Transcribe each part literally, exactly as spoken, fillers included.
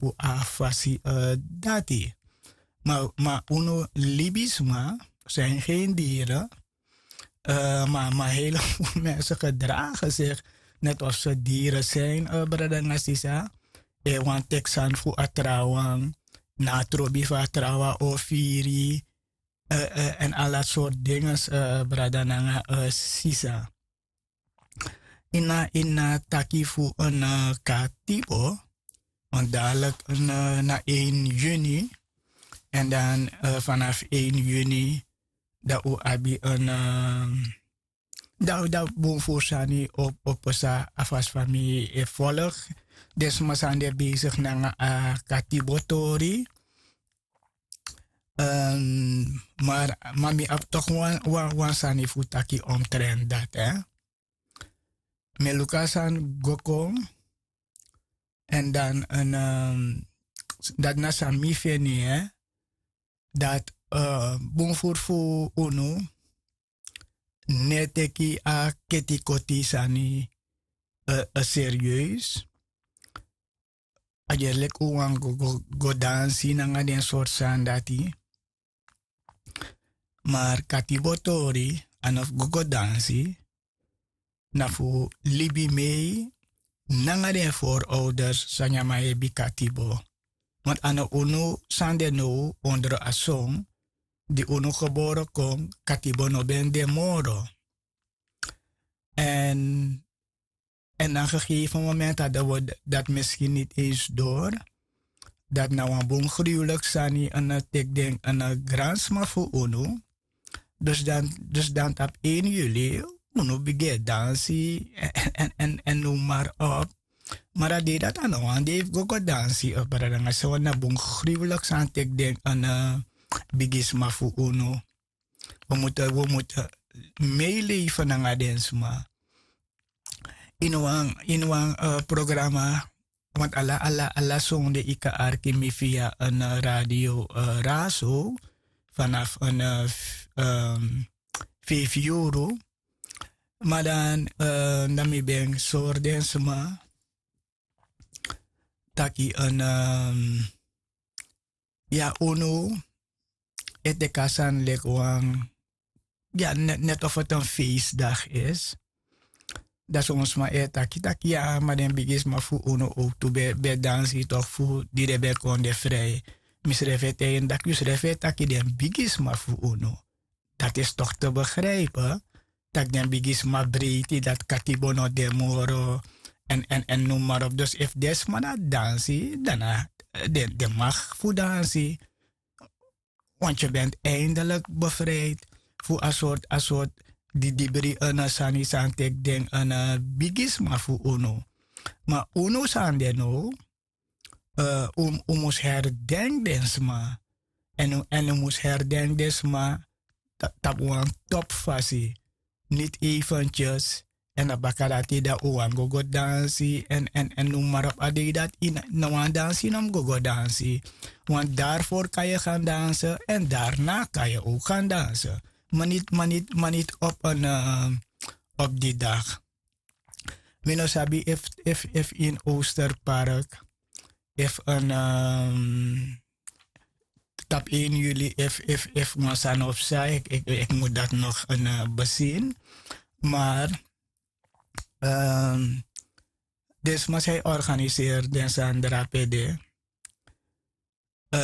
tapu a fasi dati. Ma unu libisma, seni gen diren. Ma ma hele fu mense gedragen sigi net of se diren seni, brada nanga sisa. Wan teki sani fu a trawan, na a trobi fu a trawan o firi, èn ala sortu dinges, brada nanga sisa. Ini a ini a taki fu en katibo, want dadilik na één juni. Èn dan vanaf één juni dan un abi en, dan dan bun furu sani o pasa a fasi fa mi e folg den sma san de besigi nanga a katibo tori. Mar ma mi abi tok wan sani fu taki omtrent dati. Mi e luku a sani go kon. Èn dan dati na san mi feni, dati bun furu fu unu no e teki a ketikoti sani serieus. A gerleki un wani go dansi nanga den sortu sani dati. Mar katibo tori a no fu go go dansi. Na fu libi mei nanga den forouders san nyan man hebi katibo. Want a no unu san de now ondro a son di unu gebore kon, katibo no ben de moro. Èn èn na gegeven moment hadden we dat misschien niet eens door, dat na wan bun gruwelijk sani en teki den en gransma fu unu. Dus dan dus dan tapu één juli unu bigin e dansi en en en noem maar op. Maar a dei dati a no wan dei fu go go dansi, brada nanga sisa, want na bun gruwelijk sani teki den en bigisma fu unu. We moeten we moeten meeleven nanga den sma. Ini wan ini wan programma, want ala ala ala sonde yu kan arki mi via en radio raso vanaf en vijf euro. Maar dan dan mi ben sori den sma taki en ya unu e teki a sani leki wan ya net of eti en feestdag is. Dan son sma e taki taki ya ma den bigisma fu unu owtu ben dansi tok fu di den ben kon de frij. Mi srefi e taigi en daki yu srefi e taki den bigisma fu unu. Dati is tok te begrijpen. Taki den bigisma breiti dati katibo no de moro. En en en noem maar op dus efu den sma na dansi dan na den mag fu dansi. Want yu bent eindelik bevrijd fu a sort a sort didibri en sani san teki den en bigisma fu unu. Ma unu san de now un mus herdenki den sma. Èn un mus herdenki den sma tapu wan topu fasi. Niti eventyes èn na baka dati dan un wani go go dansi èn èn èn noem maar op a dei dati na wan dansi no mus go go dansi. Want dari fori kan yu gan danse èn dari na kan yu owk gan danse. Ma niti ma niti ma niti op en op di dagi. Mi no sabi efu efu efu ini osterpark efu en tapu één juli efu efu efu wan sani of san eki eki mus dati nog en besin. Maar den sma san e organiseri den sani drape de.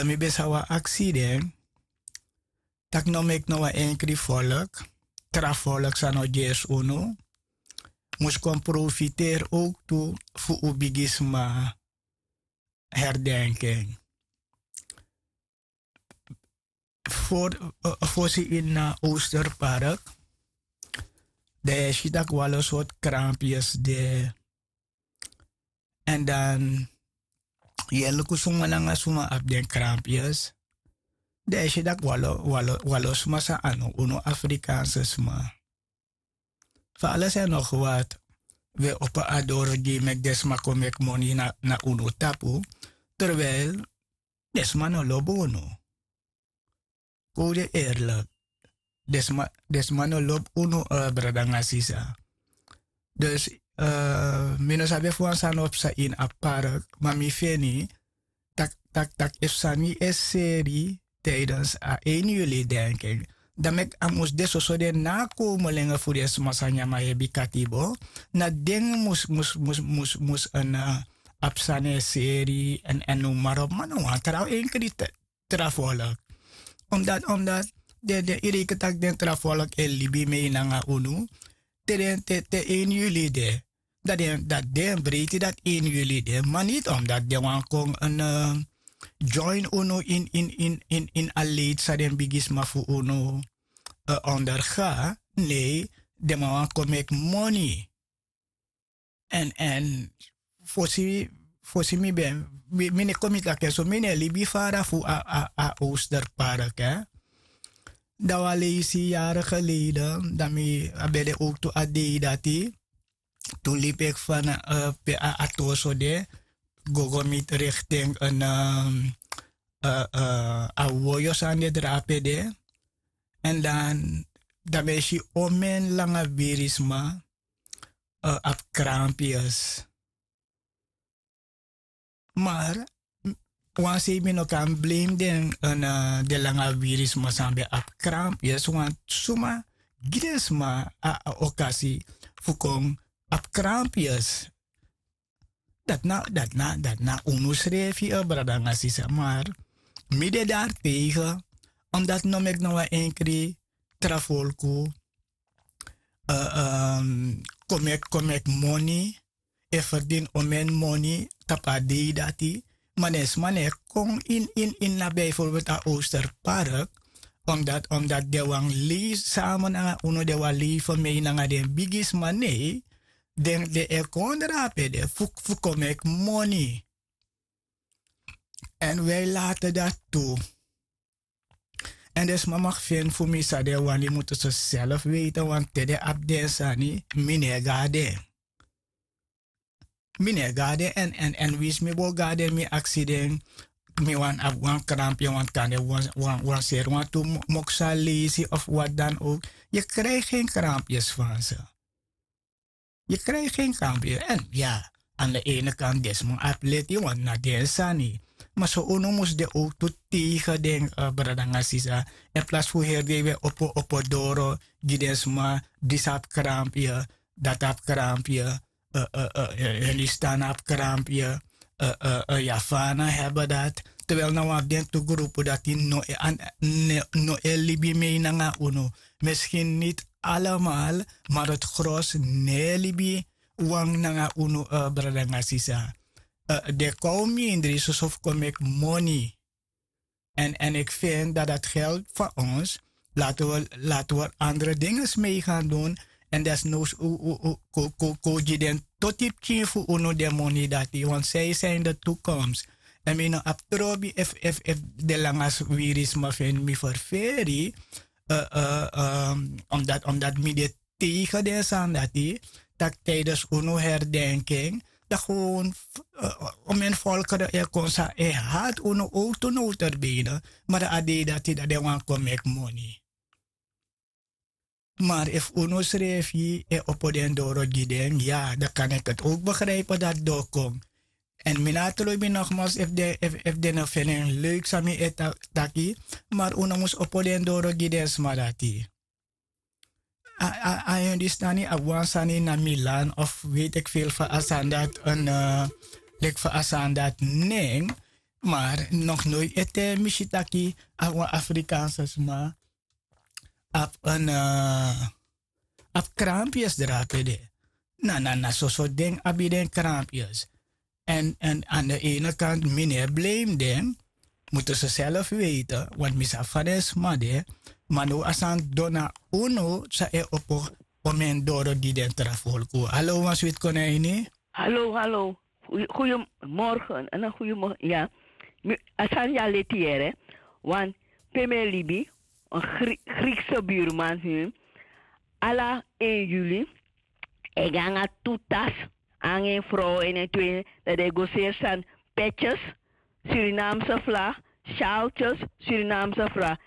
Mi ben sa wan aksi den tak' no meki no wan enkri folk tra folk san no gersi unu mus kon profiteri owk tu fu un bigisma. Herdenki en fosi ini na osterpark. Dan yu e si tak' wan lo sortu kranpyes de. Èn dan yu e luku suma nanga suma abi den kranpyes. Dan yu e si tak' wan lo wan lo sma san a no unu afrikaanse sma. Fa ala san e no gwati wi e opo a doro gi yu meki den sma kon meki moni na unu tapu. Terwel den sma no lobi unu. Kon un de erlik. Den sma no lobi unu brada nanga sisa. Dus mi no sabi efu wan sani o psa ini a park ma mi feni tak tak tak efu sani e seri tiydens a één yuli denken, dan meki a mus de soso den nakomelingen fu den sma san nyan man hebi katibo. Na den mus mus mus mus mus en abi sani e seri. Èn noem marop man no wan tra enkri tra volk. Omdati omdati den den yu reiken tak' den tra volk e libi mei nanga unu te den te te één yuli de. Dati den breiti dati één yuli de ma niti omdati den wani kon en join unu ini a leiti san den bigisma fu unu onderga. Nei, den man wani kon meki moni. Èn èn fosi fosi mi ben mi no e kon mi taki en so mi no e libi fara fu a a a osterpark. Dan wan leisi yari geleden dan mi a ben de owtu a dei dati. Tun libi eki fan pe a a toso de gogo mi rikting en a woyo san de drape de. Èn dan dan mi e si omen langa wirisma abi krampius. Mar wan sei mi no kan blame den den langa wiri sma san ben abi krampius want suma gi den sma a okasi fu kon abi krampius. Dati na dati na dati na unu srefi brada nanga sisa mar mi de dari tegen. Omdati no meki na wan enkri tra folku kon meki kon meki moni e ferdini omen moni tapu a dei dati. Ma den sma no e kon ini ini ini na bijvorbelt a osterpark. Omdati den wani lei sama nanga unu den wani lei fermei nanga den bigisma nei den e kon drape de fu kon meki moni. Èn wi e late dati tu. Èn den sma maki feni fu mi san den wani mutu se self weite wantu te den abi den sani mi no e go na den. Mi no e go na den èn èn èn winsi mi bo go na den mi aksi den mi wani abi wan krampi wantu kande wan seri wantu moksu a leisi of wati dan owk. Yu krijgi gen krampi yu sfanse. Yu krijgi gen krampi yu èn ya. An de ene kan den sma abi leti wantu na den sani. Ma so unu mus de owk tu tegen den brada nanga sisa. Èn plasi fu heri den yu ben opo opo doro gi den sma disi abi krampi yu dati abi krampi yu. Hindustan abi krampi yu. Yafana heben dati. Terwel na wan fu den tu grupu dati no e libi mei nanga unu. Miskin niti alamal. Mar dati gros no e libi wan nanga unu. Brada nanga sisa. Den kon mindri soso fu kon meki moni. Èn èn iki feni dati dati geld fan ons lati wi lati wi andre dinges mei gan dun. Èn desnowsu kon gi den toti pikin fu unu den moni dati want sai sai ini de tukoms. Èn mi no abi trobi efu efu efu de langa swiri sma feni mi ferferi. Omdati omdati mi de tegen den sani dati tak' tidens unu herdenking dan gewon omen volkere e kon san e hati unu owtu noterbene. Mari a dei dati dan den wani kon meki moni. Mari efu unu srefi e opo den doro gi den ya dan kan iki eti owtu begripe dati doro kon. Èn mi na a trobi nogmals efu den no feni en leuk san mi e taki. Mari unu mus opo den doro gi den sma dati. A a a yu distani abi wan sani na milan of weti eki feel fa a sani dati en leki fa a sani dati nen. Mar noknoi ete mi si taki abi wan afrikanse sma abi en abi krampius drape de. Na na na soso den abi den krampius. Èn èn an de ene kant mi no e blame den. Mutu se self weite want mi sabi fa den sma de. Ma now a sani dona unu san e opo omen doro gi den tra folku. Halo wan switi kon na ini. Halo halo. Guyemorgen en guyemorgen ya. A sani ya leti yere. Want pe mi e libi en griekse buurman hun ala en yuli e go nanga tu tas nanga en frow en en tu en dan den e go seri sani. Petjes, surinaamse vlag, sjaaltjes, surinaamse vlag.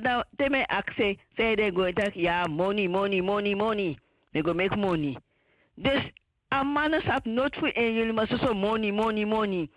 Dan te mi e aksi en san yu den go en taki ya moni moni moni moni. Den go meki moni. Dus a man no sabi noti fu en yuli ma soso moni moni moni.